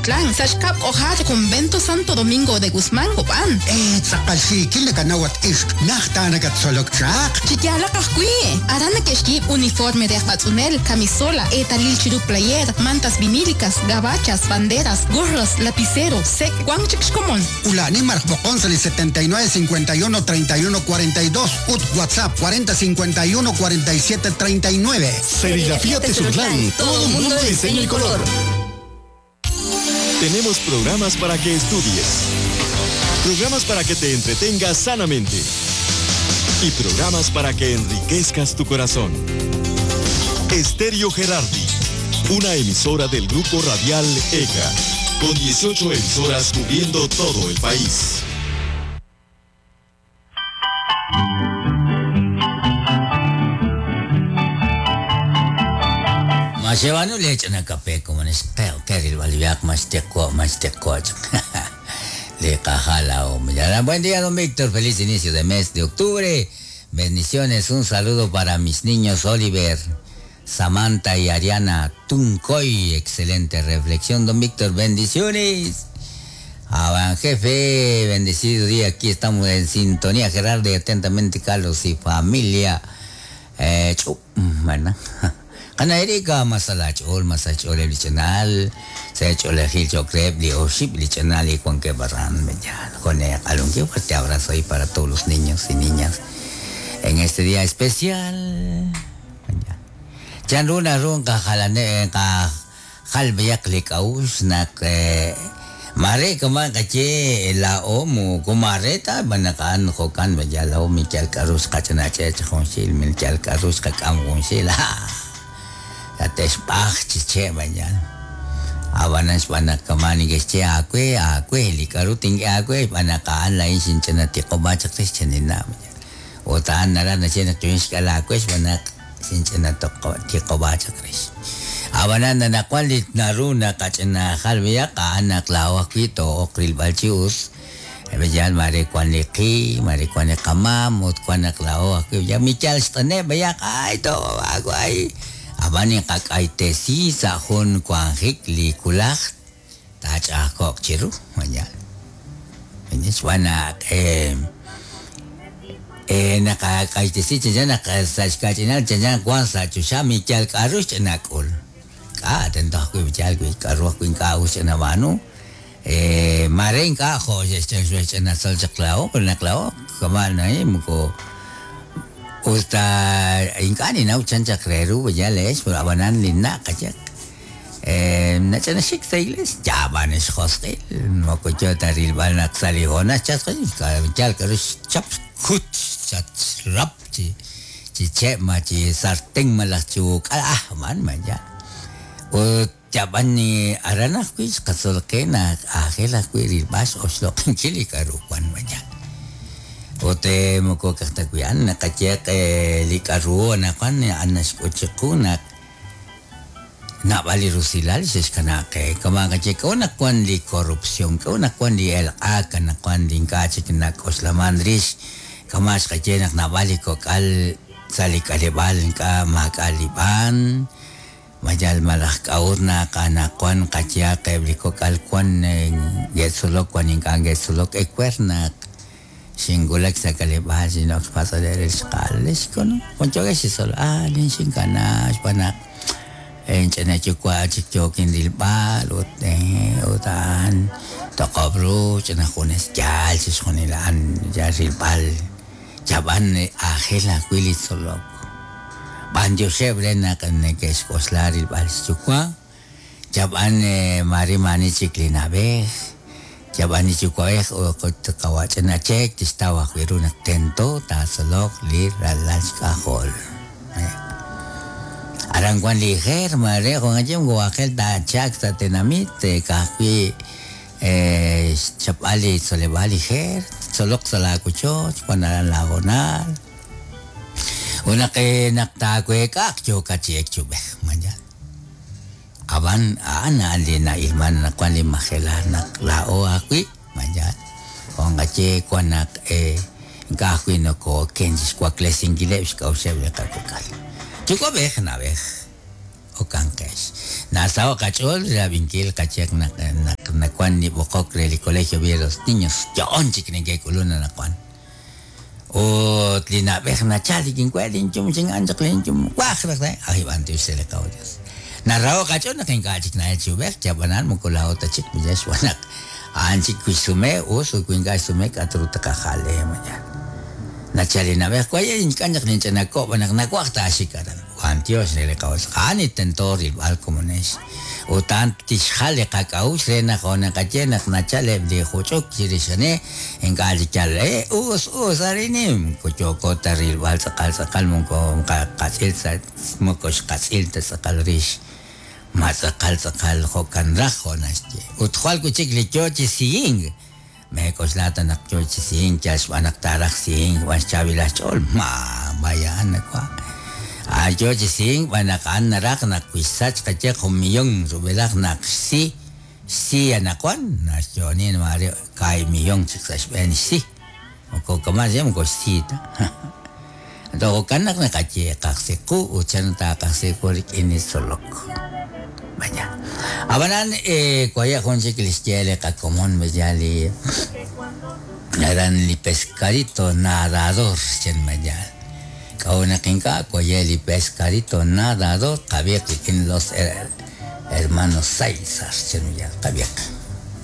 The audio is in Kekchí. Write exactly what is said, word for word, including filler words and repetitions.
Tezontlan, sa' xkab' k'ojar Convento Santo Domingo de Guzmán, Cobán. Eh, tz'aqal xiikil nakanawat ixq, najta nakatzolok chaq. Chi yaalaq ajwi', aran neke'xyiib' uniforme de aj b'atz'unel, camisola, eetalil chiru player, mantas vinílicas, gabachas, banderas, gorros, lapicero, sek, wan chik xkomon. Ulani maraj b'oqon sa' li setenta y nueve cincuenta y uno treinta y uno cuarenta y dos, ut WhatsApp cuarenta cincuenta y uno cuarenta y siete treinta y nueve. Serigrafía Tezontlán, todo un mundo de diseño y color. Tenemos programas para que estudies, programas para que te entretengas sanamente y programas para que enriquezcas tu corazón. Estéreo Gerardi, una emisora del Grupo Radial E C A, con dieciocho emisoras cubriendo todo el país. Masewano le echan a café como en este, que el valviac más te co, más te co. Le cajala o me Buen día, don Víctor. Feliz inicio de mes de octubre. Bendiciones. Un saludo para mis niños Oliver, Samantha y Ariana Tuncoy. Excelente reflexión, don Víctor. Bendiciones. Aban jefe, bendecido día. Aquí estamos en sintonía. Gerardo y atentamente Carlos y familia. Eh, chu, bueno. Kana Erika masalach ol masach ol el chanal se hecho el gil chocrep li oship li chanal y con que barran ya con el alonque fuerte abrazo ahí para todos los niños y niñas en este día especial. Chan runa run ka jalane ka jalbiak li kaus nak mare kama kache la omu kumareta banakan jokan ya la omi chal karus kachanache chonshil mil chal karus kakam gonshil. Atespach chiche mañana. Abanas banakamani que che akwe akwe likaruting akwe banakaan lain sinchana tikobacha christianina. Otaan nara na chena tuins kala akwe banak sinchana tikobacha chris. Abanan na nakwalit naruna kachena halvia kaanak lawakito okril balchius. Bejal mare kwan liki, mare kwan kamam, ut kwan naklao akwe ya michal stane bayak ay to agway. Abani kakaitesi sa hun kwanhik li kulak tach akok chiru manyal. Inis wana eh eh nakakaitesi chanjan nakasachkachinal chanjan kwan sa chusha michal karush nakul. Ka tento aku michal kui karuh kuin kaus na manu eh maren ka ho chach na sol chaklao naklao kamana eh muko. Usta inkani na uchancha creru ya les pero abanan linna kachak eh nachana shik sa iglesia ya van es hostel mococho taril van a saligona chas chal karus chap kut chat rap chi chi che ma chi sartén malach ah man man ya o chaban ni arana kuis kasolkena ajela kuiril bas oslo kinchili karu kwan man ya. Ote moko kaktakuyan nakacheq likaru nakan anashkuchikunak nabali rusilal shishkanake kamakache kona kwan li corrupción kona kwan li el aka nakwan li kachik nak oslamandrish kamash kachenak nabali kokal salikalibal ka makaliban mayal malak kaurna kanakwan kachiak eblikokal kwan getsulok kwan inkan getsulok ekwernak Singulak sa kalibal sinok pasadere skalish kono konchoge sisol ah lin sinkana panak enchana chukwa chikchokin dilbal ut utan tokobru chana junes yal sisjonilan yarilbal chaban ajela kuili solok ban Joseph rena kaneke skoslar ilbal chukwa chaban mari mani chiklinabej Yabani chukwaj o kawachana chek tistawa wiruna tento tasolok li ralashkahol. Arangwan lijer mare con ajem guajel da chak sa tenamite kakwi eh chapali solebali jer solok salakucho chuanaran lagonal. Una que naktakwe kak chokachiek chubej mañana. Aban ana ali na ilman na kwan li majela na lao akwi mañan on gache kwan nak eh kakwi no ko kenjis kwa klesingile xkauseb le kakukal chuko bej na bej o kankesh na sao kachol la vinkil kachek na na wan li b'oqok re li colegio Villa Los Niños yo'on chik neke'k'ulun anaqwan ut li na'b'ej nachal kinwe linchum chin'an chaq linchum waj raj ay b'antiox re li qaw Dios narraho qach'on naq ink'a' chik na'el chi ub'ej chab'anan moko laa'o ta chik miyax xb'aan a'an chik kuxsume us ut wi ink'a' xsume k'atru taqajal mañana nachal li na'b'ej waye ink'an chaq ninch'inako' b'an naq nawaj taaxik aran b'antiox re li qaw Dios a'an intento rilb'al komonex ut a'an tixjal li qak'a'uxl re naq onaqaye naq nachal eb' li juch'uk chirix ane ink'a' chik yal eh us us arinim koyoko ta rilb'al tz'aqal tz'aqal moko qatz'il sa' moko xqatz'il ta tz'aqal rix ma tz'aqal tz'aqal jo'kan raj jo' naxye ut jwal wi' chik li yo chi siyink mek'oxla ta naq yo chi siyink yal xb'aan naq taaraj siyink b'an xchaab'ilaj xch'ool ma vaya a'an nakwa a yo chi siyink b'an naq a'an naraj naq wi xsach qaye jun millón rub'elaj naq xsi xsi anaqwan naxyo'onin mare kaay millón chik sa' xb'een xsi moko kama' xe moko xsi ta jo'kan naq naqaye qajsiqu ut chan taaqajsiqu rik'in li tzolok vaya abanan eh kuaya jun chik li xye li qakomon ya li eran li pescadito nadador chen mayal k'aw naq ink'a' kuaya li pescadito nadador qabiq rik'in los hermanos Saizar chen mayal qabiq.